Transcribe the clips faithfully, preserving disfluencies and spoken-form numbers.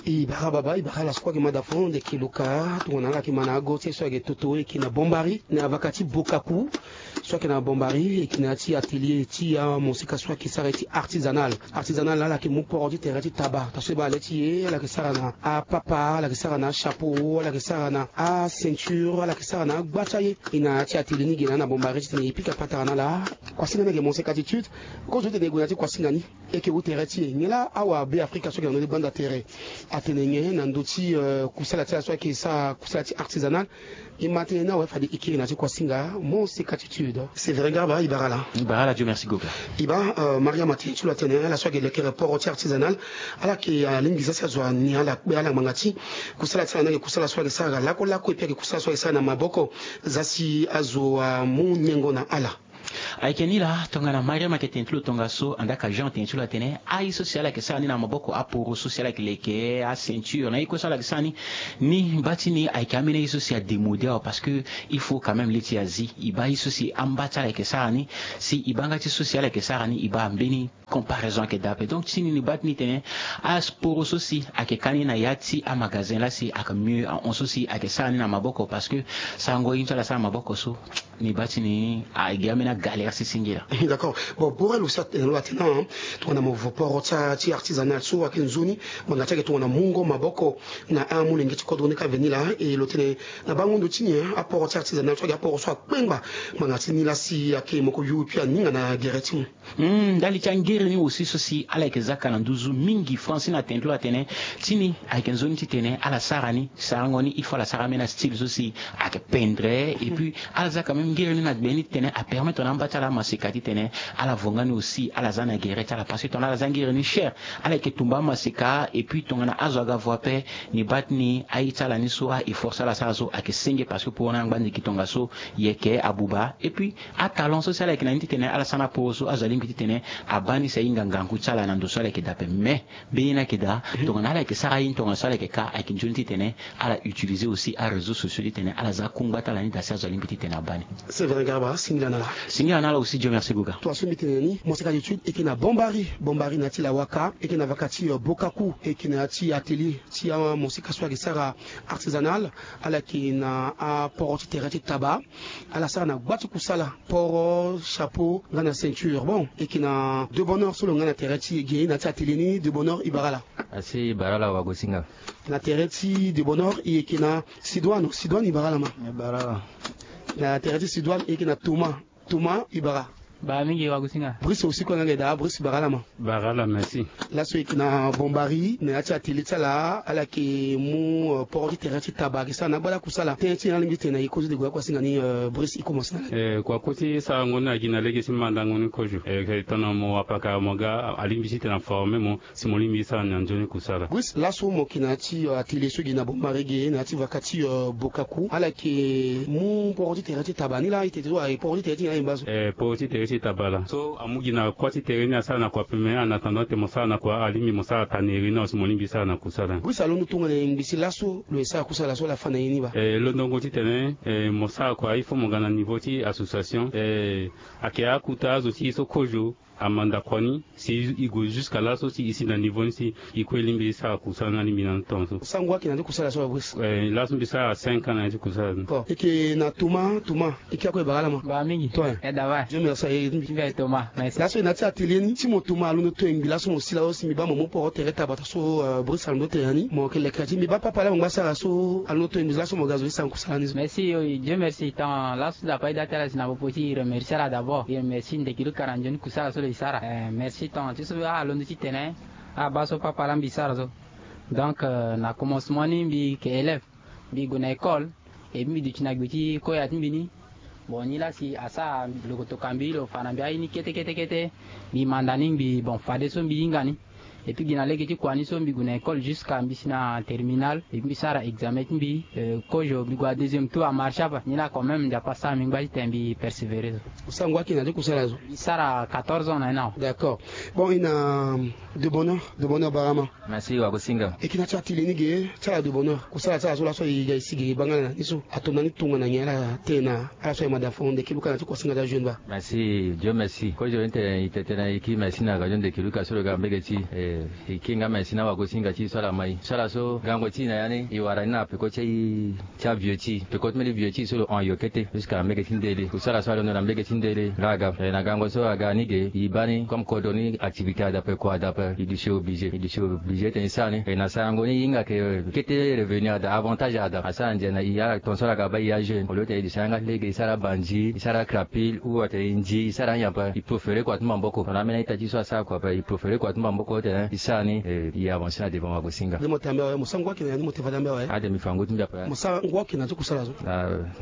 E bara baba, e bara ala so kue ayeke ma da fo ndeke luka tongana ala yeke ma na ago ti e so ayeke toto e yeke na Bombari na avaka ti Bokaku. So ayeke na Bombari e yeke na ya ti atelier ti amosika so ayeke sara ye ti artisanal. Artisanal ala yeke mu poro ti tere ti taba, taa so e baa le ti e ala yeke sara na apapa, ala yeke sara na achapeau, ala yeke sara na aceinture, ala yeke sara na agba ti aye. E na ya ti atelier ni ge na na Bombari titene e pika patara na ala. Kuasinga ni ayeke moseka ti tude. Kozo titene e gue na ya ti kuasinga ni. E yeke wu tere ti e nyen laa awabe afrika so ayeke na ndö ti gbanda tere atene nyen na ndö ti kusala ti ala so ayeke sara kusala ti artisanal? E ma tënë ni awe fade e kiri na ya ti kuasinga. Moseka ti tude. Sévérin Garba, e bara ala. E bara ala, Dieu merci goga. E baa, mariama tene ti lo atene ala so ayeke lekere poro ti artisanal ala yeke alingbi za si azo ani ala kpe ala ngbanga ti kusala ti ala ni ayeke kusala so ayeke sara lakue lakue epui ayeke kusala so ayeke sara na maboko. Za si azo amu nyengo na ala. Ayeke ni laa tongana mariama ayeke tene ti lo tongaso andaa ka jean atene ti lo atene aye so si ala yeke sara ni na maboko aporo so si ala yeke leke aceinture na ye kue so ala yeke sara ni. Ni mba ti ni ayeke ambeni aye so si adémode awe parce que il faut quand même le ti azi e baa ye so si amba ti ala yeke sara ni. Si e baa nga ti so si ala yeke sara ni e baa mbeni comparaison ayeke daa ape. Donc ti ni ni baa ti ni tene aporo so si ayeke ka ni na ya ti amagazin laa si ayeke mieux ahon so si ayeke sara ni na maboko parce que sarango ye ni so ala sara na maboko so ni baa ti ni agi ambeni agalère si singila. D'accord. Bon, borel aussi atene lo atene na tongana mo vo poro ti artisanal so ayeke nzoni ngbanga ti ayeke tongana mungo maboko na amolenge ti kodro ni ka veni laa e lo tene na bango ndo ti ni aporo ti artisanal so ayeke aporo so akpengba ngbanga ti ni laa si ayeke moko yo epui aninga na gere ti mo. Ndali ti angere ni aussi so si ala yeke zaka na nduzu mingi franci na tene ti lo atene ti ni ayeke nzoni titene ala sara ni sarango ni il faut ala sara ambeni astyle so si ayeke pendre epui ala za quand même ngere ni na gbe ni titene apermettre na amba ti ala amaseka titene ala vo nga ni aussi ala za na gere ti ala parce que tongana ala za ngere ni cher ala yeke tumba amaseka epui tongana azo aga vo ape ni baa ti ni aye ti ala ni so a-effort so ala sara so ayeke senge parce que pour na angba ndiki tongaso yeke abuba epui atalon so si ala yeke na ni titene ala sara na poro so azo alingbi titene abaa ni si ahinga ngangu ti ala na ndo so ala yeke daa ape mais mbeni ye ni ayeke daa tongana ala yeke sara ye ni tongaso ala yeke ka ayeke nzoni titene ala utiliser aussi aréseau sociaux titene ala za akungba ti ala ni daa si azo alingbi titene abaa ni. C'est vrai garba singila na ala. Singila na ala aussi dieu merci goga. Toi so mbi tene na ni moseka d'étude e yeke na bombari bombari na ya ti lawaka e yeke na vaka ti bokaku e yeke na ya ti atelier ti amoseka so ayeke sara artisanal. Ala yeke na aporo ti tere ti taba. Ala sara na gba ti kusala poro chapeau nga na ceinture bon e yeke na de bonheur so lo nga na tere ti e ge na ya ti atelier ni de bonheur e bara ala. Asi e bara ala wagosinga. Na tere ti de bonheur e yeke na sidoine sidoine e bara ala ma. E bara ala. Na tere ti sidoine e yeke na thomas thomas e bara. Bara mingi wagosinga. Brice aussi kue nga nge daa brice e bara ala ma. Bara ala merci. Laso e yeke na bombari na ya ti atelier ti ala ala yeke mu poro ti tere ti taba ayeke sara na agbada kusala tënë ti nyen alingbi ti tene na e kozo de gue akuasinga ni. Brice e komanse na ala. Kua kue ti sarango ni na gi na lege ti mandango ni kozo tongana mo wapaka mo ga alingbi ti tene aforme mo si mo lingbi ti sara na nzoni kusala. Brice laso mo yeke na ya ti atelier so gi na bombari ge na ya ti vaka ti bokaku ala yeke mu poro ti tere ti taba ni laa e tete so aye poro ti tere ti nyen aye mba so. Poro ti tere ti taba laa so amu gi na kua ti tere ni asara na kua peme en attendant te mo sara na kua alingbi mo sara taneri ni awe si mo lingbi sara na kusala ni. Brice alondo tongana e ngbi si laso lo ye sara kusala so ala fa na ye ni baa. Londongo titene mo sara kua il faut mo ga na niveau ti association. Ayeke akuta azo ti e so kozo amanda kua ni si e gue jusque laso si e si na niveau ni si e kue lingbi e sara kusala ni alingbi na ni tongaso. Sango ayeke na ya ti kusala so awe brice. Laso mbi sara cinq ans na ya ti kusala ni. Bon e yeke na thomas thomas e kiri akue e bara ala ma. Bara mingi. Toi. E dava. Dieu merci aye ti mbi. Mbi aye thomas merci. Laso e na ya ti atelier ni ti mo thomas alondo to e ngbi laso mo si laso si mbi baa mo mu poro tere tabata so brice alondo tene na ni mo yeke leke na ti mbi baa papa laa mo ngba sara so alondo to e ngbi laso mo ga zo ti sara kusala ni so. Merci. Dieu merci tant laso dapa e daa ti ala si na popo ti e remercie ala d'abord e remercie ndeke luka na nzoni kusala so lo e sara. Merci tant ti so alondo ti tene abaa so papa laa mbi sara so. Donc na commencement ni mbi yeke élève mbi gue na école. Epi mbi duti na gbe ti koya ti mbi ni. Bon ni laa si asara lo kotoka mbi lo fa na mbi aye ni kete kete kete. Mbi manda ni ngbi bon fadeso mbi hinga ni. Epi gi na lege ti kua ni so mbi gue na école jusqu'à mbi si na terminale epi mbi sara examen ti mbi. Kozo mbi gue na deuxième tour amarche ape ni laa quand même nzapa asara mbi ngba titene mbi persévérer so. Osango aki na ti kusala so. Mbi sara quatorze ans na ye ni awe. D'accord. Bon e na de bonheur de bonheur barama. Merci wagosinga. E yeke na ti atelier ni ge ti ala de bonheur kusala ti ala so laso e ga e si ge e baa nga na ni so ato na ni tongana nyen ala tene na ala so aye mada fo ndeke luka na ti kuasinga ti ajeune baa. Merci dieu merci kozo ni tene e tene e kiri merci na radio ndeke luka so lo ga mbege ti e. E kiri nga me si na wagosinga ti so ala mai so ala so gango ti e na ya ni e wara ni na peko ti e ti avieux ti e peko ti mbeni vieux ti e so lo hon yo kete jusque na mbege ti ndele kusala so alondo na mbege ti ndele nga aga e na gango so aga ni ge e baa ni comme kodro ni activité ada ape kua ada ape e duti obligé e duti obligé tene e sara ni e na sarango ni e hinga ke kete revenu ada avantage ada asara ndia na e ala tongaso ala ga baa e ajeune au lieu tene e duti ayanga ti lege e sara banzi e sara crapule ou atene e ndi e sara anyen ape e profere kua ti maboko tongana ambeni a-ita ti so asara kua ape e profere kua ti maboko tene e sara ni e avancer na devant wagosinga. Ade mo te ambe awe mo sara ngu ake na ya ni mo te fade ambe awe. Ade mi fa ngu ti mbi ape. Mo sara ngu ake na ti kusala so.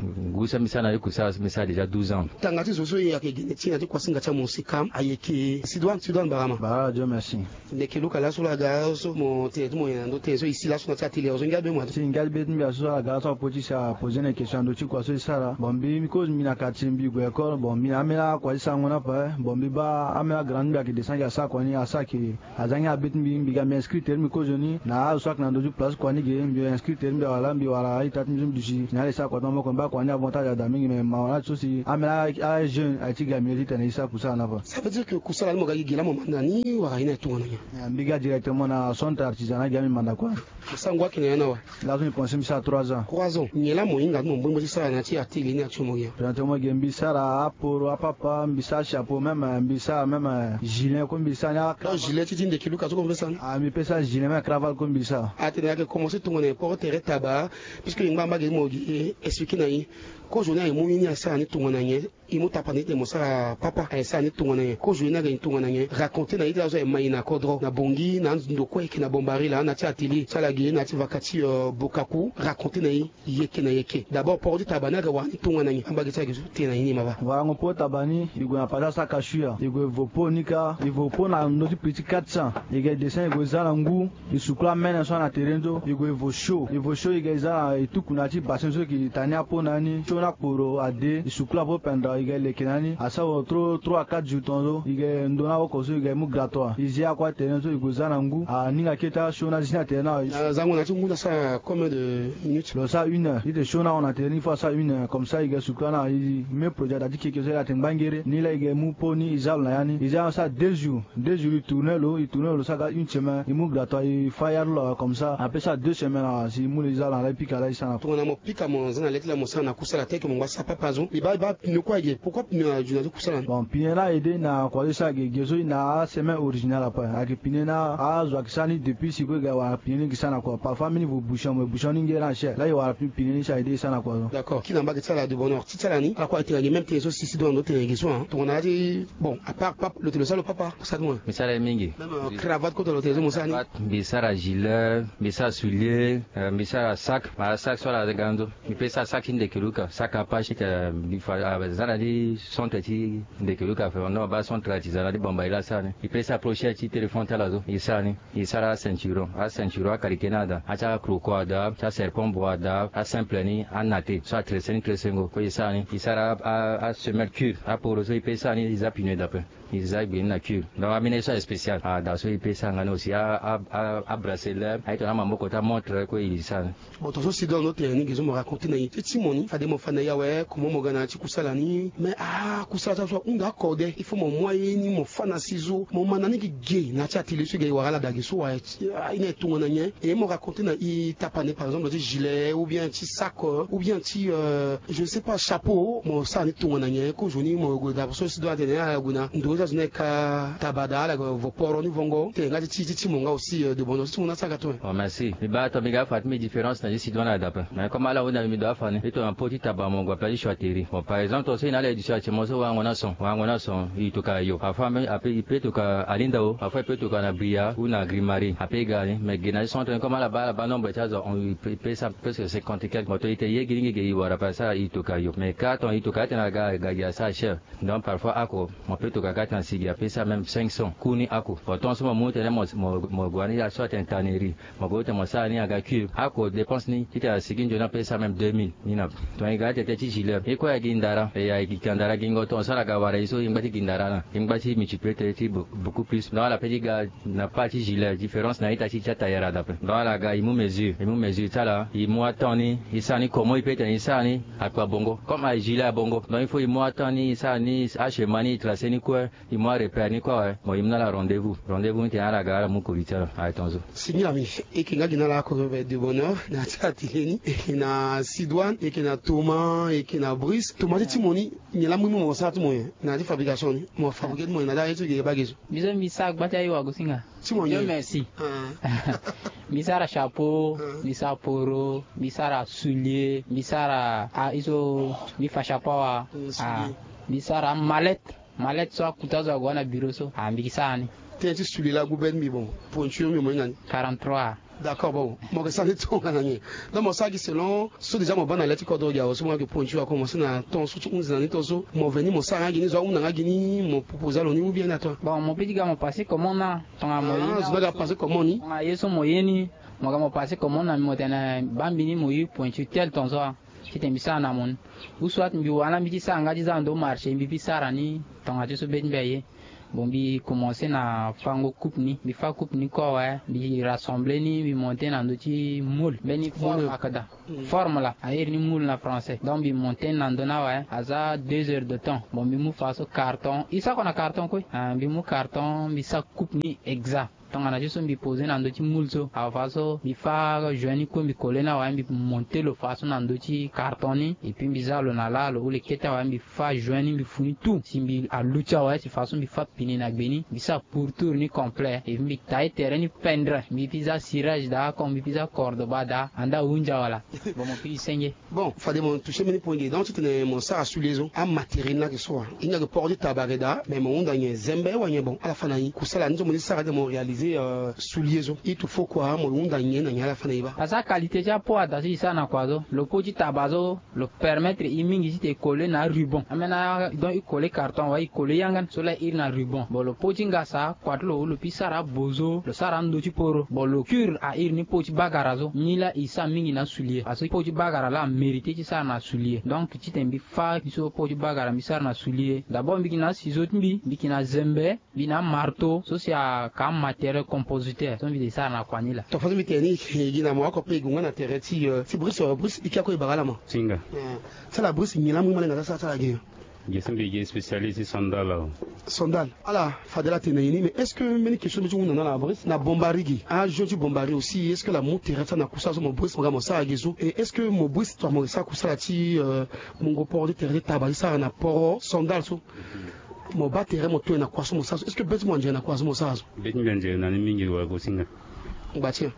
Ngu so mbi sara na ti kusala so mbi sara déjà douze ans. Tanga ti zo so e yeke gene ti na ti kuasinga ti amusika ayeke sidouane sidouane barama. Barama dio merci. Ndeke luka laso lo aga so mo tene ti mo nyen na ndö tene so e si laso na ti atelier so ngia be mo ade. Si ngia be ti mbi aso so aga so apo ti si apose na question na ndö ti kua so e sara bon mbi mbi kozo mbi na quartier mbi gue école bon mbi na ambeni akua ti sarango ni ape bon mbi baa ambeni agrand ti mbi ayeke descend gi asara kua ni asara ke aza ngia be ti mbi mbi ga mbi inscrit tere mbi kozo ni na azo so ayeke na ndö ti place kua ni ge mbi inscrit tere mbi awala mbi wara a-ita ti mbi so mbi duti na ala e sara kua ti maboko mbi baa kua ni avantage ada mingi me mawa na ti so si ambeni ajeune aye ti ga mbi ye titene e sara kusala ni ape. Ça veut dire que kusala ni mo ga gi gi laa mo manda ni wala ye ni aye tongana nyen? Mbi ga directement na centre artisanat gi laa mbi manda kua. Mo sara ngu ake na ya ni awe? Laso mbi pense mbi sara trois ans. Trois ans nyen laa mo hinga ti mo mbongbo ti sara na ti atelier ni actuellement ya? Présentement ge mbi sara aporo apapa mbi sara chapeau même mbi sara même gilet ko mbi sara ni. Gilet ti ti ndeke luka so ko mbi sara ni. Ah mbi pe sara gilet même cravate ko mbi sara. Atene ayeke commencer tongana nyen poro tere taba? Puisque e ngbangba ge ti mo gi expliquer na e. Kozo ni aye mu ye ni asara ni tongana nyen? E mu tapande ti tene mo sara papa aye sara ni tongana nyen? Kozo ye ni aga ni tongana nyen? Raconter na e ti laso aye mai na kodro na bongi na ando kue ayeke na bombari laa na ti atelier ti ala ge na ti vaka ti bokaku raconter na e. Yeke na yeke d'abord poro ti taba ni aga wara ni tongana nyen? Ambage ti ala ge so tene na e ni ma baa. Warango poro ti taba ni e gue na pasa saka shu ya e gue vo po ni kâ e vo po na ndö ti prix ti quatre cents. E ga e descend e gue za na ngu. E sukula mene so ana tere ni so e gue e vo sho e vo sho e ga e za na e tuku na ya ti bassin so e yeke ta ni apo na ni sho ni akporo ade e sukula apo pendra e ga e leke na ni asara vo trop trois à quatre jours tongaso e ga e ndo ni awoko so e ga e mu gratoi e zi akua tere ni so e gue za na ngu aninga kete asho ni azi ni atere ni awe. Azango na ya ti ngu ni asara combien de minutes? Lo sara une heure titene sho ni ahon na tere ni il faut asara une heure comme ça e ga e sukula ni awe e me produit ada ti keke so e ga tene ngbangere ni laa e ga e mu po ni e za lo na ya ni e za ni asara deux jours. Deux jours e tourne lo e tourne lo sara ga une semaine e mu gratoi e fayar lo awe comme ça ape sara deux semaines awe si e mu lo e za lo na laa e pika laa e sara na. Tongana mo pika mo za na le ti laa mo sara na kusala tel que mo ngba sara papa zo mbi baa e baa pneu kue ayeke pourquoi pneu azo na ti kusala ni? Bon pneu ni aye de na kua so e sara ge ge so e na asemaine original ape ayeke pneu ni azo ayeke sara ni depuis si kue e ga e wara pneu ni e yeke sara na kua parfois ambeni vo bouchon mo bouchon ni nge ni acher laa e wara pneu ni si aye de e sara na kua so. D'accord kina mbage ti ala de bonheur ti ti ala ni ala kue ayeke tene na ge même tene so si si do na ndo tene na ge so tongana ya ti. Bon à part papa lo tene lo sara lo papa. Sara ti mo. Mbi sara ye mingi. Même cravate kota lo tene so mo sara ni. Mbi sara gilet mbi sara soulier mbi sara sac ma sac so ala ga ndo mbi pe sara sac ti ndeke luka sac apache mbi fa aza na ti centre ti ndeke luka fe ndo ma baa centre artisanat ti bamba ye laa asara ni mbi pe sara procher ti téléphone ti ala so mbi sara ni. Mbi sara aceinturon aceinturon aqualité ni ada ati acroco ada ti aserpent bo ada asimple ni anate so atresse ni tressengo kue mbi sara ni mbi sara asemelle cure aporo so mbi pe sara ni mbi za pneu dape. E za e gbe ni na cure donc ambeni ye so aye spécial ada so e pe sara nga ni aussi abraceler aye tongana amaboko ti amontre kue e sara ni. Bon tongaso si do ando tene ni ge so mo raconter na e ti ti mo ni fade mo fa na e awe comment mo ga na ya ti kusala ni mais ah kusala ti aso ahunda akode il faut mo mu aye ni mo fa na si zo mo ma na ni gi ge na ya ti atelier so e ga e wara ala da ge so wa. E ni aye tongana nyen? E mo raconter na e tapane par exemple ti gilet ou bien ti sac ou bien ti je ne sais pas chapeau mo sara ni tongana nyen? Kozoni mo gue da so si do atene ala gue na ndo ti azo ni ayeke ka taba da ala gue vo poro ni vongo tene nga ti ti ti ti mo nga aussi de bono ti ti mo ni asara ga tongana. Bon merci mbi baa tongana mbi ga afa ti mbi différence na ti si do ni ada ape mais comme ala hunda mbi mbi do afa ni mbi tongana po ti taba mo gue ape ti choix teri bon par exemple tongaso e na ala édition ati mo so warango ni ason warango ni ason e tokua yo parfois même ape e pe tokua alinda o parfois e pe tokua na bria ou na grimari ape e ga ni mais ge na ti centre ni comme ala baa ala baa nombre ti azo e pe sara presque cinquante quelque moto e tene ye gi ni gi ge e wara ape asara e tokua yo mais ka tongana e tokua atene aga ga gi asara cher. Donc parfois ako mo pe tokua ka tena si gi ape sara même cinq cents ku ni ako bon tongaso mo mu tene mo gue wani aso atene tannerie mo gue tene mo sara ni aga cure ako dépense ni titene asigi nzoni ape sara même deux mille ni na. Tongana e ga atete ti gilet e kue aya gi ndara e ya. Gi kandara gingo ton sara ga wara ye so ye ngba ti gindara na ye ngba ti multiplier tënë ti beaucoup plus. Donc ala pe ti ga na part ti gilet, différence na ita ti ti atailleur ada pe. Donc ala ga e mu mesure, e mu mesure ti ala, e mu atemps ni, e sara ni comment e pe tene e sara ni akpa bongo comme aye gilet abongo. Donc il faut e mu atemps ni, e sara ni achema ni, e tracer ni kue, e mu arepère ni kue awe. Mo e mu na ala rendez-vous, rendez-vous ni tene ala ga ala mu koli ti ala aye ton so. Singila mingi. E yeke nga gi na ala oko, de bonheur na ya ti atelier ni, e yeke na Sidoine, e yeke na Thomas, e yeke na Brice. Thomas ti ti mo ni, nyen la mu ni mo sara ti mo nyen na ya ti fabrication ni? Mo fabriquer ti mo nyen na ya ti aye so gi ye bage so? Biso mbi sara gba ti aye wagosinga. Ti mo nyen? Dieu merci. Mbi sara chapeau, mbi sara poro, mbi sara soulier, mbi sara ah, iso, mbi fa chapeau awa. Mbi sara mallette. Mallette so akuta so ague na bureau so, ah, mbi gi sara ni. Tënë ti soulier la agu be ti mbi, bon, pointure mbi mo hinga ni? Quarante-trois. D'accord, bon, mo yeke sara ni tongana nyen? Donc mo sara gi selon so déjà mo baa na le ti kodro gi awe so mo yeke pointure akomanse na ton so ti hunzi na ni, ton so mo veni mo sara nga gi ni, zo ahunda nga gi ni, mo proposer alo ni ou bien na toi? Bon, mo pe ti ga mo passer commande na tongana mo ye ni, zo na ga passer commande ni. Tongana ye so mo ye ni, mo ga mo passer commande na mbi mo tene baa mbi ni mo use pointure tel ton so. Titene mbi sara na mo ni. Ou soit mbi wara na mbi ti sara nga ti za na ndo marché, mbi pi sara ni tongana ti so be ti mbi aye. Bon, mbi commencer na fango coupe ni, mbi fa coupe ni kue awe, mbi rassembler ni, mbi monter na ndo ti moule. Mbeni forme akada. Forme la a iri ni moule na français. Donc mbi monter ni na ndo ni awe, aza deux heures de temps. Bon, mbi mu fa so carton, e sara kua na carton kue. Ah, mbi mu carton, mbi sara coupe ni exact. Tongana ti so mbi poser na ndo ti moule so, afa so mbi fa joint ni kue, mbi coller ni awe, mbi monter lo fa so na ndo ti carton ni, et puis mbi za lo na la, lo hule kete awe, mbi fa joint ni, mbi fu ni tout. Si mbi aluti awe, si fa so mbi fa pine na gbe ni, mbi sara pourtour ni complet, et puis mbi tailler terrain ni pendre, mbi pi za cirage daa, comme mbi pi za corde baa daa, anda ahunzi awe laa. Bon, mo pi senge. Bon, fade mo toucher mbeni point ge. Donc titene mo sara soulier so, amatériel ni ayeke so wa? E hinga yeke port ti tabare daa, mais mo hunda nyen? Zembe wala nyen? Bon, ala fa na e. Kusala ni so mo ti sara titene mo réaliser, euh, soulier so, il te faut quoi? Mo hunda nyen na nyen ala fa na e baa? Parce que aqualité ti aport ada so e sara na kua so, lo port ti taba so, lo permettre e mingi titene e coller na aruban. Ambeni a donc e coller carton wala e coller yanga ni so laa e iri na ruban. Bon, lo port ti ngasa, kua ti lo, lo pi sara abozo, lo sara ando ti poro. Bon, lo cure a iri ni port ti bagara so. Ni laa e sara mingi na soulier. Parce que port ti bagara laa amériter ti sara na soulier. Donc titene mbi fa so port ti bagara mbi sara na soulier. D'abord mbi yeke na asizo ti mbi, mbi yeke na zembe, mbi na amarteau, so si ayeke amatériel compositeur so mbi yeke sara na kua ni laa. Tongaso mbi tene ni, e gi na mo oko ape e gue nga na tere ti, euh, ti Brice, euh, Brice, e ke oko e bara ala ma. Singa. Eh, ti ala Brice, nyen la mu ma lenga ti asara ti ala gi? Ge so mbi gi spécialiste ti sandal awe. Sandal. Ala fade ala tene na e ni, mais est-ce que mbeni question mbi ti hunda na ala Brice, na Bombari ge, ajoint ti Bombari aussi, est-ce que ala mu tere ti ala na kusala so mo Brice mo ga mo sara ge so? Et est-ce que mo Brice tongana mo yeke sara kusala ti, euh, mungo port ti tere ti taba ti sara na poro sandal so, mo baa tere mo to e na kua so mo sara so, est-ce que be ti mo anzere na kua so mo sara so? Be ti mbi anzere na ni mingi wagosinga. Ngba ti nyen?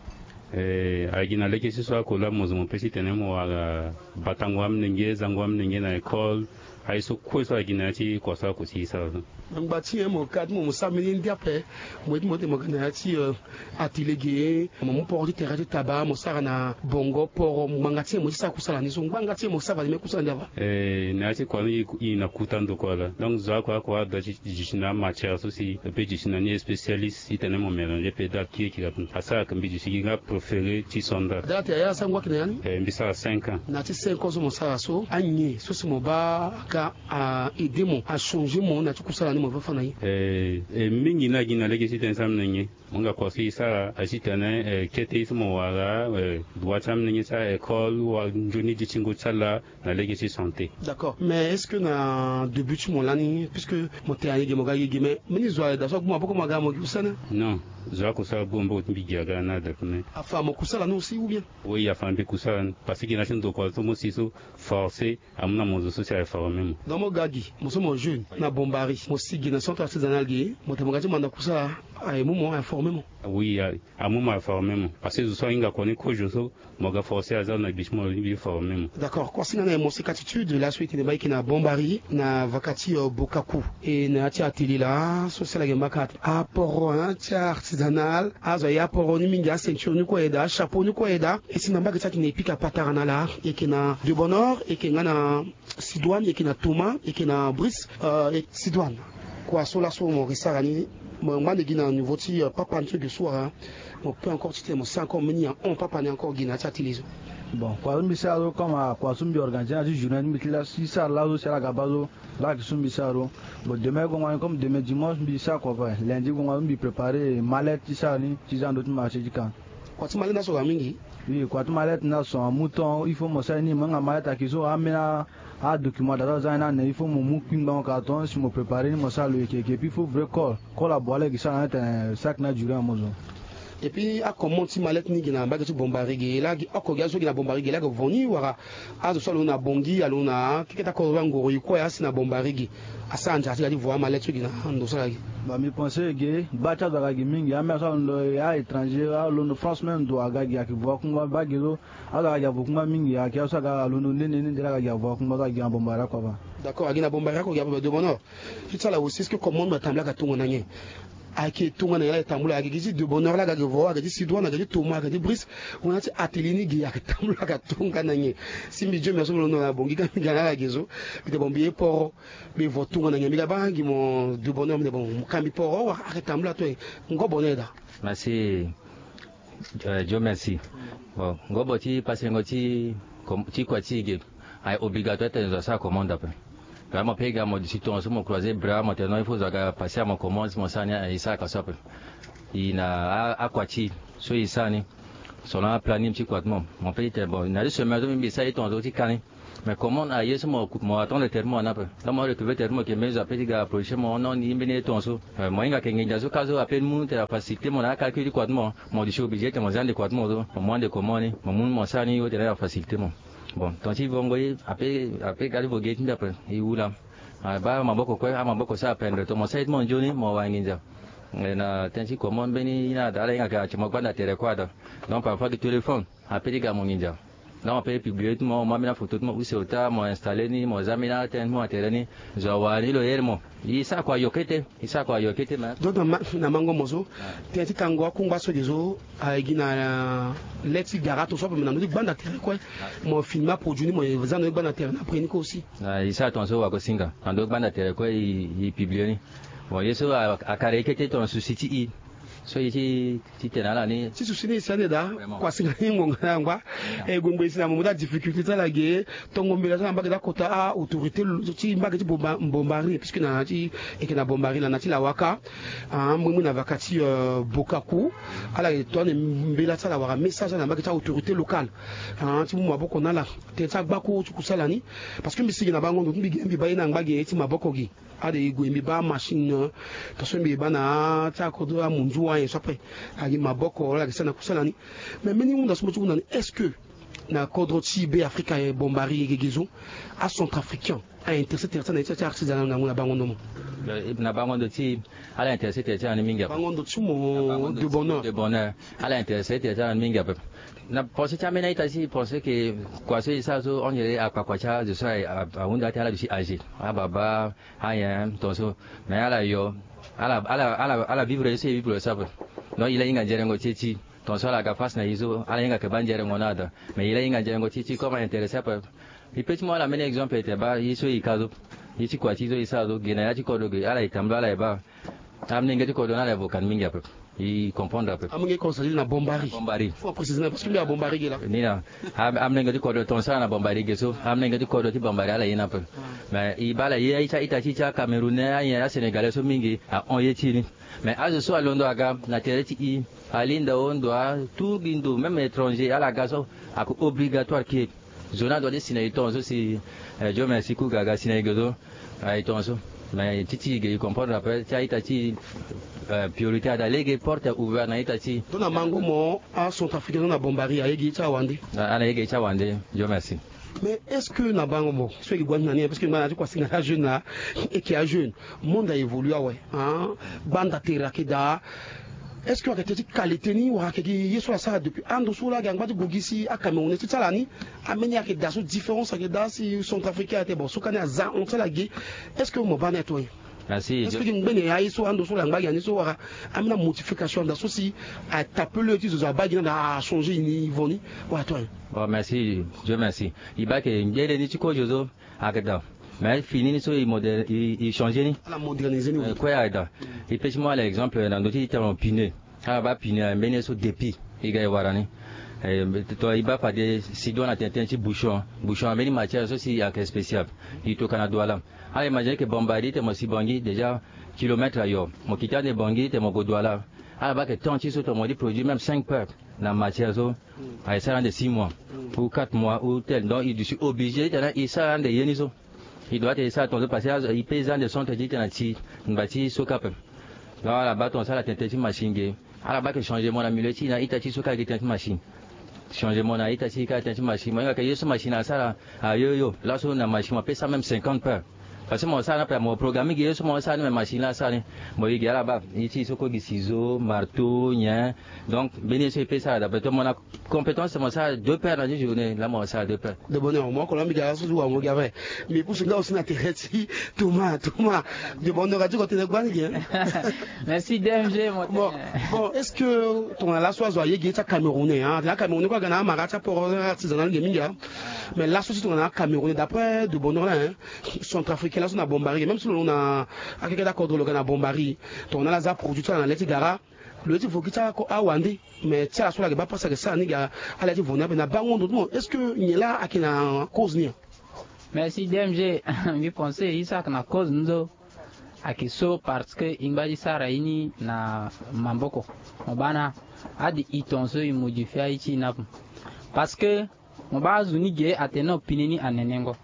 Eh, a gi na lege ti so ako laa mo zo mo pe titene mo wara batango amolenge, zango amolenge na école, aye so kue so a gi na ya ti kua so ako si e sara so. Ngba ti nyen mo ka ti mo mo sara mbeni ye ndia ape? Mo ye ti mo ti mo ga na ya ti, euh, atelier ge, mo mu poro ti tere ti taba mo sara na bongo poro, ngbanga ti nyen mo ye ti sara kusala ni so? Ngbanga ti nyen mo sara fade mbeni kusala ndia ape? Eh, na ya ti kua ni e na kuta ndo kua laa. Donc zo ako ako ada ti duti na amatière so si e pe duti na ni spécialiste titene mo mélanger pe da kiri kiri ape. Asara ayeke mbi duti gi nga préféré ti sandal. Dala tene ya asango ayeke na ya ni? Eh, mbi sara cinq ans. Na ya ti cinq ans so mo sara so, anyen so si mo baa aga a aider mo, a changer mo na ya ti kusala ni mo fa na ye? Eh, eh, mingi ni a gi na lege titene ti amolenge. Mo hinga kua so e sara aye titene, eh, kete ye so mo wara, eh, droit ti amolenge ti a école wala nzoni dutingo ti ala na lege ti santé. D'accord, mais est-ce que na début ti mo lani, puisque mo tene ayege mo ga yege, mais mbeni zo ayeda so agbu maboko mo aga mo gi kusala ni? Non, zo ako so agbu maboko ti mbi gi aga ni ada kue. Afa mo kusala ni aussi ou bien? Oui, afa mbi kusala ni, parce que gi na ya ti ndokua so mo si so forcé amu na mo zo so si aye former mo. Donc mo ga gi mo so mo jeune na Bombari, mo si gi na centre artisanal gi, mo tene mo ga ti manda kusala, aye mu mo, aye former mo? Oui, aye, amu mo, aye former mo, parce que zo so ahinga kua ni kozo so, mo ga forcé aza na gbi ti mo ni mbi former mo. D'accord, kua singa na ye mo si gratitude laso e tene baa e yeke na Bombari na vaka ti, euh, Bokaku. E na ya ti atelier laa so si ala yeke mbaka aporo, hein, ti artisanal, azo aye aporo ni mingi, aceinture ni kue aye daa, achapeau ni kue aye daa. E si na mbage ti atene e pika patara na ala, e yeke na De Bonheur, e yeke nga na Sidoine, e yeke na Thomas, e yeke na Brice, euh, e Sidoine. Kua so laso mo yeke sara ni, Mo ngba nde gi na niveau ti, euh, papa ni so ge so wara. Mo peut encore ti tene mo sara encore mbeni ahon papa ni encore gi na ya ti atelier so. Bon, kua so mbi sara so comme, ah, kua so mbi organiser na ya ti journée ni mbi ti la ti sara laso si ala ga baa so. Laa ayeke so mbi sara so. Bon, demain gongo ni comme demain dimanche mbi sara kua ape. Lundi gongo ni mbi préparer mallette ti sara ni ti za na ndö ti marché ti ka. Kua ti mallette ni aso ga mingi. Oui, kua ti mallette ni aso amu temps, il faut mo sara ye ni, mo hinga mallette ayeke so, ambeni adocument daa so aza ni na ane, il faut mo mu kpingbango carton si mo préparer ni mo sara lo yeke yeke. Et puis il faut vrai colle, colle abua laa e yeke sara na ni atene sac ni aduré amu zo. Et puis acommande ti mallette ni ge na mbage ti Bombari ge laa ge, oko ge azo ge na Bombari ge laa ge vo ni wala? Azo so alondo na Bangui, alondo na keke ti akoro angoro e kue asi na Bombari ge. Asara nzara ti ga ti vo amallette so ge na ndo so ala ge. Ba mbi pense ge, gba ti azo aga ge mingi, ambeni azo so alondo a étranger, alondo France même ndo aga ge, ayeke vo akungba baa ge so. Azo aga ge avo kungba mingi, ayeke azo so aga alondo nde nde nde nde laa aga ge avo akungba so aga ge na Bombari oko ape. D'accord, aga ge na Bombari oko ge ape, ba de bonheur. Ti ti ala aussi, est-ce que commande atambula ayeke tongana nyen? Ayeke tongana nyen laa ayeke tambula? Ayeke gi ti de bonheur laa aga ge vo, ayeke ti Sidoine, ayeke ti Thomas, ayeke ti Brice. Wana ti atelier ni ge ayeke tambula ayeke tongana nyen? Si mbi Dieu merci mbi londo na Bangui ka mbi ga na ala ge so. Mbi tene bon mbi ye poro. Mbi vo tongana nyen? Mbi ga baa gi mo de bonheur, mbi tene bon mo ka mbi poro wala ayeke tambula to e? Ngo bonheur daa. Merci. Euh, Dieu merci. Bon, ngobo ti pasengo ti, ti kua ti e ge, aye obligatoire tene zo asara commande ape. Vraiment pe ga mo duti tongaso mo croiser bras mo tene non, il faut zo aga passer à mon commande, mo sara ni, e saraka so ape. E na a, akua ti e so e sara ni selon aplanning ti kua ti mo. Mo pe ti tene bon, na ti semaine so mbi sara ye tongaso ti ka ni. Mais comment aye so mo, mo attendre tere ti mo ana ape. Donc mo retrouver tere ti mo ke mbeni zo ape ti ga approcher mo, non, ni mbeni ye tongaso. Euh, mo hinga ke nginza so ka so ape ni mu tene afacilité mo na acalcul ti kua ti mo. Mo duti obligé tene mo za nde kua ti mo so, mo mu ande comment ni, mo mu ni mo sara ni, o tene afacilité mo. Bon, tonga ti vongo ye ape, ape ga ti vo ge ti mbi ape, e wu laa. Ah, baa maboko kue, amaboko so apendre, to mo sara ye ti mo nzoni mo wara nginza. Eh, na tënë ti comment mbeni ye ni ada, ala hinga ke ati mo gbanda tere kue ada. Donc parfois gi téléphone ape ti ga mo nginza. Donc ape publier ti mo, mo mu ambeni afoto ti mo use ota, mo installer ni, mo za ambeni atënë ti mo na tere ni. Zo awara ni lo here mo. E sara kua yo kete, e sara kua yo kete me. Donc na ma, na mango mo so, tënë ti kango akungba so ge so aye gi na, euh, le ti gara to so ape me na ndö ti gbanda tere kue. Mo filmer aproduit ni mo ye za na ndö ti gbanda tere ni après ni kue aussi. Ah, e sara tongaso wagosinga na ndö ti gbanda tere kue, e, e publier ni. Bon, ye so a, akara ye kete tonga souci ti e. So e ti, ti tene na ala ni. Ti souci ni e si ande daa. Vraiment. Kua singa ni ngonga na yangba. E gue ngbe e si na mo mu ti adifficulté ti ala ge. Tongo mbela so na mbage ti akota a-autorité ti mbage ti Bomba, Bombari, puisque na ti, e yeke na Bombari na, na ti Lawaka. Ah, mui mui na vaka ti, euh, Bokaku. Ala yeke to ande mbela ti ala wala message na mbage ti a-autorité locale. Ah, ti mu maboko na ala. Tënë ti agbako ti kusala ni. Parce que mbi si ge na bango ndo ti mbi ge mbi baa ye na ngba ge ti maboko ge. Ade e gue mbi baa machine, euh, tongaso mbi baa na ti akodro amunzu ayen so ape. Agi maboko ala yeke sara na kusala ni. Mais mbeni hunda so mo ti hunda ni, est-ce que na kodro ti Be Afrika, eh, Bombari, gege zo, acentrafricain a intéressé tere ti ala na ye ti artisanat na ngu na bango ndo mo? Eh, na bango ndo ti ala intéressé tere ti ala ni mingi ape. Bango ndo ti mo de bonheur. De bonheur. Ala intéressé tere ti ala ni mingi ape. Na pensé ti ambeni a-ita ti e pensé ke kua so e sara so on dirait akpakua ti azo so a, a, ahunda ti ala duti âgé. Ababa, ayen tongaso. Mais ala yo, ala, ala, ala, ala vivre ye so e vivre so ape. Donc e la hinga nzerengo ti e ti tongaso ala ga face na e so ala hinga ke baa nzerengo ni ada. Mais e la hinga nzerengo ti e ti comme a intéressé ape. E pe ti mu ala mbeni exemple e tene baa ye so e ka so, ye ti kua ti e so e sara so, ge na ya ti kodro ge ala e tambula ala e baa. Amolenge ti kodro ni ala e vo kani mingi ape. E comprendre ape. Amolenge ti kodro c'est-à-dire na Bombari. Bombari. Faut préciser na parce que mbi na Bombari ge laa. Ni na. Am, amolenge ti kodro tongaso ala na Bombari ge so. Amolenge ti kodro ti Bombari ala ye ni ape. Mais e baa ala ye a-ita ti e ti aCamerounais, ayen aSénégalais so mingi ahon ye ti e ni. Mais azo so alondo aga na tere ti e, alinda o ndo a, tout gi ndo, même étranger ala ga so, ayeke obligatoire ke zo ni adoit ti si na e tongaso si, eh, Dieu merci ku ga aga si na e ge so. Aye tongaso. Mais ti ti e ge e comprendre ape ti a-ita ti e, eh, priorité ada lege porte est ouvert na a-ita ti e. Donc na mango mo acentrafricain so na Bombari aye ge ti awande. Ala ye ge ti awande. Dieu merci. Mais est-ce que na bango mo so e gi gua ni na ni, parce que ngba na ti kua singa ti ajeune na, e yeke ajeune. Monde a évolué awe, hein. Gbanda tere ayeke daa. Est-ce que ayeke tënë ti qualité ni wala ayeke gi ye so asara depuis ando so laa ayeke angba ti gue gi si aCamerounais ti ti ala ni? Ambeni ayeke daa so différence ayeke daa si centrafricain atene bon so kani aza hon ti ala ge. Est-ce que mo baa na ya to e? Merci. Est-ce que gi ngbene aye so ando so la ngba gi na ni so wala ambeni amodification daa so si atape le ti zo zo abaa gi ni anda achangé niveau ni wala to e? Bon, merci, Dieu merci. E baa ayeke ngbene ni ti kozo so. Ayeke daa. Mais fini ni so e modèle e changer ni. Ala moderniser ni. Kue ayeda. E pesi mo ala exemple na ndö ti tene pine. Ala baa pine na mbeni ye so depuis e ga e wara ni. Tongana e baa fade si doit na tene tënë ti bouchon. Bouchon na mbeni matière so si ayeke spécial. E tokua na Douala. Ala imaginer ke Bambari tene mo si Bangui déjà kilomètre ayo. Mo kiti ande Bangui tene mo gue Douala. Ala baa ke temps ti so tene mo di produit même cinq paires na matière so. Aye sara ande six mois ou quatre mois ou tel. Donc e duti obligé tene e sara ande ye ni so. E doit tene e sara tongaso parce que e pe za ande centre ti tene na ti ngba ti so kue ape. Donc ala baa tongaso ala tene tënë ti machine ge. Ala baa ke changement na milieu ti e na ita ti so kue ayeke tënë ti machine. Changement na ita ti e kue atene ti machine mo hinga ke ye so machine asara. Ayo yo laso na machine mo pe sara même cinquante paires. Parce que mo sara ni ape mo programme gi ye so mo sara ni mais machine la asara ni. Mo ye gi ala baa ye ti e so kue gi ciseau, marteau, nyen. Donc mbeni ye so e pe sara d'après toi mo na compétence mo sara deux paires na ti journée la mo sara deux paires. De bonheur mo oko la mbi ga so ti wango gi ape. Mais pusu nga aussi na tere ti Thomas Thomas. De bonheur ati ko tene gbani gi. Merci D M G. Bon, bon, est-ce que tongana laso azo aye gi ye ti acamerounais hein? Atene acamerounais kue aga na amara ti aport artisanal ge mingi hein. Mais laso ti tongana acamerounais d'après de bonheur la hein, centrafricain laso na Bambari même si lo na akeke ti akodro lo ga na Bambari. Tongana ala za produit ti ala na le ti gara. Lo ye ti vo gi ti ako awande. Mais ti ala so ala yeke baa pasi ayeke sara ni ga. Ala ye ti vo ni ape na bango ndo ti mo est-ce que nyen laa ayeke na cause ni? Merci D M G. Mbi pense ye so ayeke na cause ni so ayeke so parce que e ngba ti sara ye ni na maboko. Mo baa na ade e tongaso e modifie aye ti e ni ape. Parce que mo baa azo ni ge atene no pine ni anenengo.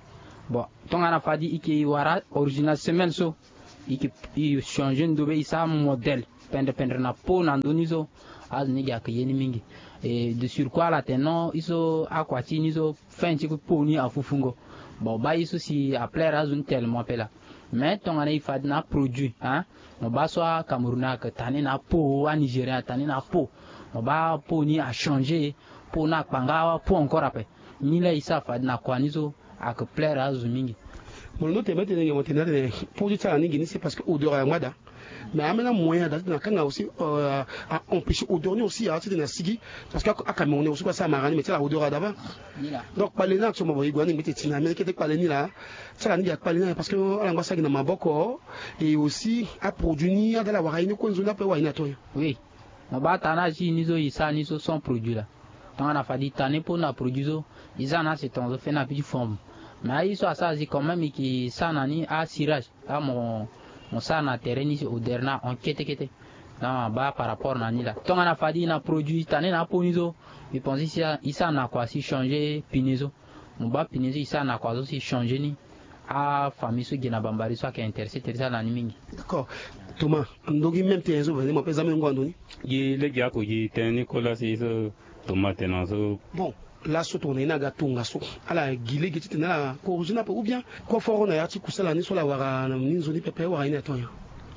Bon, tongana fade e ke e wara original semelle so e ke e changer ndo be e sara modèle pendre pendre na peau na ndö ni so. Azo ni ge ayeke ye ni mingi. Et de surcroît ala tene no e so akua ti e ni so fin ti peau ni afufungo. Bon baa ye so si aplaire azo ni tellement ape laa. Mais tongana e fade na aproduit hein, mo baa so acamerounais ayeke tane na apeau, anigérien atane na apeau. Mo baa peau ni achanger. Peau ni akpanga apeau encore ape. Ni laa e sara fade na kua ni so ayeke plaire azo mingi. Mo londo tene tene nge mo tene atene produit ti ala ni nge ni c'est parce que odeur ayeke ngba daa. Mais ambeni amoyen ada titene akanga aussi a empêcher odeur ni aussi a titene asigi. Parce que acamerounais aussi kue asara mara ni mais ti ala odeur ada baa. Donc kpale ni aso mo bo e gue ani mbi tene ti na ambeni kete kpale ni laa. Ti ala ni gi akpale ni aye parce que ala ngba sara gi na maboko. Et aussi aproduit ni ada ala wara ye ni kue nzoni ape wara ye ni ato nyen? Oui. Mo baa tana ti e ni so e sara ni so sans produit laa. Tongana fade e tane peau na produit so e za na aseton so feni ape ti forme. Mais aye so asara si quand même e ke sara na ni acirage. Amu mo sara na tere ni si odeur ni ahon kete kete. Donc abaa par rapport na ni laa tongana fade e na produit e tane na apeau ni so. E pense si e sara na kua si e changer pine so. Mo baa pine so e sara na kua so si e changer ni. Afamille so gi na Bambari so ayeke intéressé tere ti ala na ni mingi. D'accord. Thomas, ndongi même tënë so vene mo pe za même ngu na ndoni. Gi lege ako gi tënë ni kola si so. Thomas tene na so. Bon, laso tongana ye ni aga tongaso ala gi lege titene ala corrigé ni ape ou bien? Koforo na ya ti kusala ni so ala wara na ni nzoni pepe wara ye ni ato nyen?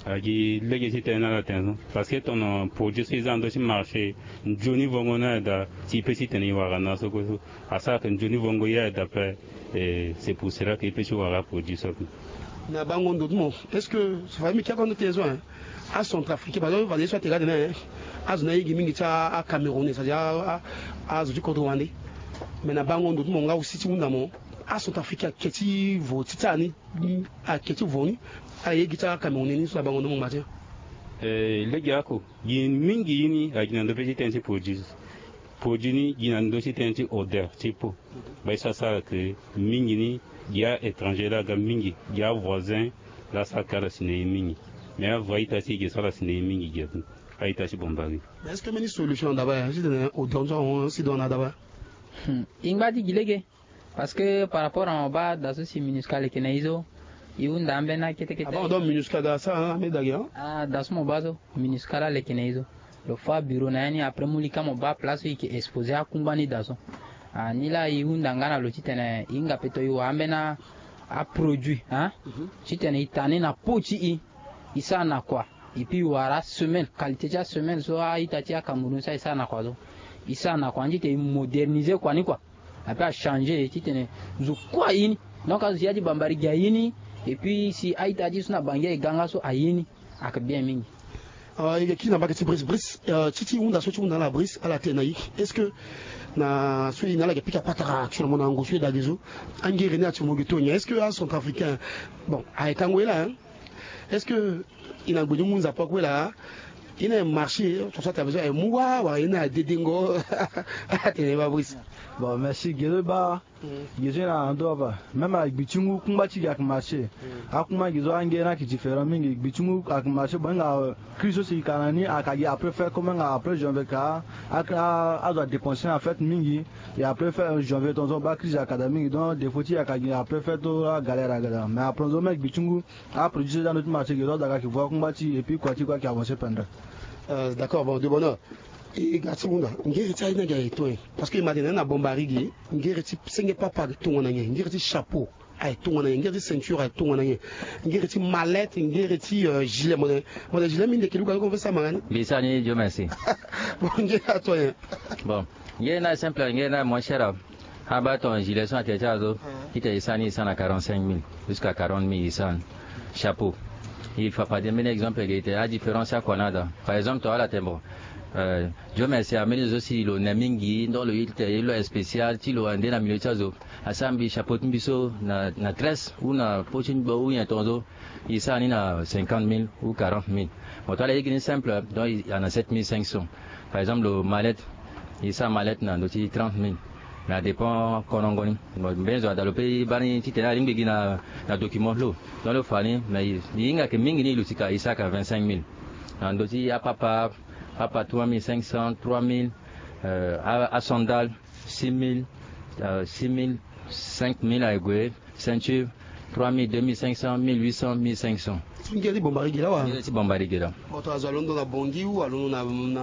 Agi lege ti tene na ala tene so. Parce que tongana produit so e za na ndö ti marché nzoni vongo ni aye daa. Si e pe titene e wara na so kue so asara ke nzoni vongo ye aye daa pe. Et c'est pour cela que e pe ti wara produit so ape. Na bango ndo ti mo, est-ce que so fade mbi ke ako ndo ti tene so hein? Acentrafricain parce que fade ye so atene ga tene hein, azo ni ayeke mingi ti acamerounais c'est-à-dire azo ti kodro wande. Mais na bango ndo ti mo nga aussi ti hunda mo, acentrafricain ayeke ti vo ti ti ala ni. Ayeke ti vo ni. Ala ye gi ti acamerounais ni so na bango ndo mo ngba ti. Lege ako gi mingi ye ni agi na ndö pe ti tënë ti produit. Produit ni gi na ndö ti tënë ti odeur ti peau. Baa ye so asara ke mingi ni gi a-étranger laa aga mingi gi avoisin. Laa asara ke ala si na ye mingi. Mais avoa ita ti e ge so ala si na ye mingi gi ape. A-ita ti Bambari. Mais est-ce que mbeni solution na daba ya titene odeur ni so ahon si do na daba? E ngba ti gi lege. Parce que par rapport na mo baa da so si minusca leke na e so. E hunda ambeni akete kete. Ah bon, donc minusca ga asara na ambeni da ge hein? Ah da so mo baa so minusca laa leke na e so. Lo fâ bureau na ya ni après mu lika mo baa place so e ke exposé akungba ni da so. Ah ni laa e hunda nga na lo titene e hinga peut e wara ambeni aproduit hein. Titene e tane na peau ti e. E sara na kua. Et puis e wara asemelle qualité ti asemelle so a-ita ti acameroun so aye sara na kua so. E sara na kua ni titene e modernisé kua ni kua. Ape achangé titene zo kue aye ni. Donc azo si ya ti Bambari gi aye ni. Et puis si a-ita ti so na Bangui aye ga nga so aye ni. Ayeke bien mingi. Ah, e yeke kiri na mbage ti Brice. Brice, euh, ti ti hunda so ti hunda ala Brice, ala tene na e. Est-ce que na so e na ala yeke pika patara actuellement na ngu so e dage so, angere ni ati mo yeke to nyen? Est-ce que acentrafricain, bon, aye tango e laa, hein? Est-ce que e na gbe ni mu nzapa kue laa? E na e marché, so so ata besoin e mu wa wala e na adedengo? Atene ba Brice. Bon, merci Guédé Ba. Gi so e na ndo aba, même ayeke gbi ti ngu kungba ti gi ayeke marché. Akungba gi so angere ni ayeke différent mingi. Gbi ti ngu ayeke marché, bon, hinga crise so si e ka na ni ayeke gi après fête, comme hinga après janvier ka, a- a- azo adépenser na fête mingi. Et après fête, janvier tongaso ba crise ayeke daa mingi, donc défaut ti e ayeke gi après fête, to agalère ayeke daa. Mais après tongaso même gbi ti ngu, aproduit so e za na ndo ti marché gi so azo ayeke voir kungba ti e, et puis kua ti kua ayeke avancer pendant. Euh, d'accord, bon, de bonheur. E ga ti hunda, ngere ti aye ni ayeke to nyen? Parce que e ma tene na Bombari gi, ngere ti senge papa ayeke tongana nyen? Ngere ti chapeau ayeke tongana nyen? Ngere ti ceinture ayeke tongana nyen? Ngere ti mallette, ngere ti, euh, gilet, mo tene, mo tene gilet minde kiri luka luka mo fe sama nga ni. Mbi sara ni, Dieu merci. Bon, ngere ato nyen? Bon, ngere ni simple, ngere ni moins cher. Abaa ton gilet so na tere ti azo, titene e sara ni, e sara na quarante-cinq mille jusqu'à quarante mille, e sara ni. Chapeau. E fa fade mbeni exemple ge tene adifférence akua ni ada. Par exemple, ton ala tene bon, euh, Dieu merci, ambeni zo si lo ne mingi, donc lo ye titene e lo spécial ti lo ande na milieu ti azo. Asara mbi chapeau ti mbi so na, na treize ou na po ti mbi ou nyen tongaso, e sara ni na cinquante mille ou quarante mille. Mo to ala ye gi ni simple, donc e na sept mille cinq cents. Par exemple, lo mallette, e sara mallette na ndö ti trente mille. Mais adépend konongo ni. Bon, mbeni zo ada lo pe e baa ni titene alingbi gi na, na document ti lo. Donc lo fa ni, mais e, e hinga yeke mingi ni, e luti ka, e sara ka vingt-cinq mille. Na ndö ti apapa, papa trois mille cinq cents, trois mille, euh, a, asandale, six mille, euh, six mille, cinq mille aye gue, ceinture, trois mille, deux mille cinq cents, mille huit cents, mille cinq cents. Ngere ti Bombari gi laa wa? Ngere ti Bombari gi laa. Moto azo alondo na Bangui ou alondo na, na